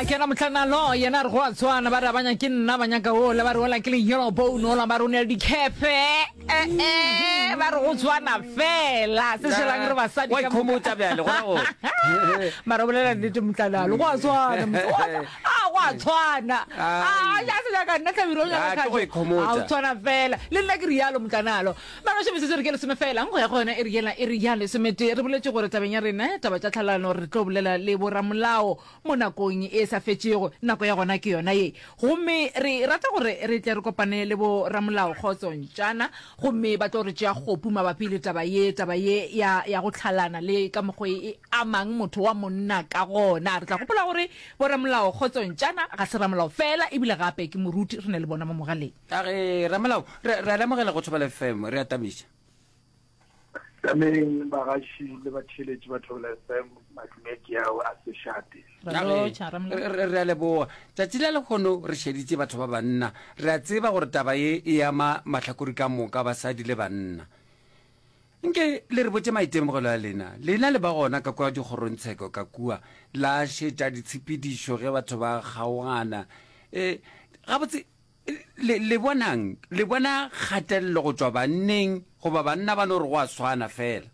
A kena mohlanalo, yena a re go a tshwana, ba re a ba nyake nna, ba nyaka ola, ba re ola ke le yellow bone, ola ba re o ne le dikhepe, eh, eh, ba re go tshwana fela, se šelang re basadi Wa ka moka. ikhomotša bjale, go ra gore. Mara o bolela nnete mohlanalo, go a tshwana, motho, go a tshwana, a go a tshwana. A, Ai. a se nyaka nna Hlabirwa o nyaka Ah, ke go Kgatšo. ikhomotša. A o tshwana fela. Le nna ke rialo mohlanalo. Mara metsotso e re ke lesome fela, nko ya go yona e re yela e re ya lesometee. Re boletše gore tabeng ya rena taba tša tlhalano re tlo bolela le boramolao mo nakong e sa fetšego. Nako ya gona ke yona ye. Gomme re rata gore re tle re kopane le boramolao Kgotso Ntšana gomme ba tlo re tšea kgopu mabapi le taba ye, taba ye ya, ya go tlhalana le ka mokgo e amang motho wa monna ka gona. Re tla gopola gore boramolao Kgotso Ntšana ga se ramolao fela ebile gape ke moruti. Re na le bona mo mogaleng. A re, Ramolao, re, re a lemogela go Thobela FM, re a tamiša. Tameng bagaši le batheeletši ba Thobela FM, madume ke ao a sešate. Ra A re, lotšha, Ramolao. re, re, re a leboga. Tšatši la lehono re šeditše batho ba banna. Re a tseba gore taba ye e ama mahlakori ka moka, basadi le banna. Nke le re botše maitemogelo a lena. Lena le ba gona ka kua dikgorongtsheko ka kua, la šetša ditshepedišo ge batho ba kgaogana. E, gabotse, Le, le bonang? Le bona kgatelelo go tšwa banneng, goba banna ba no re go a swana feela?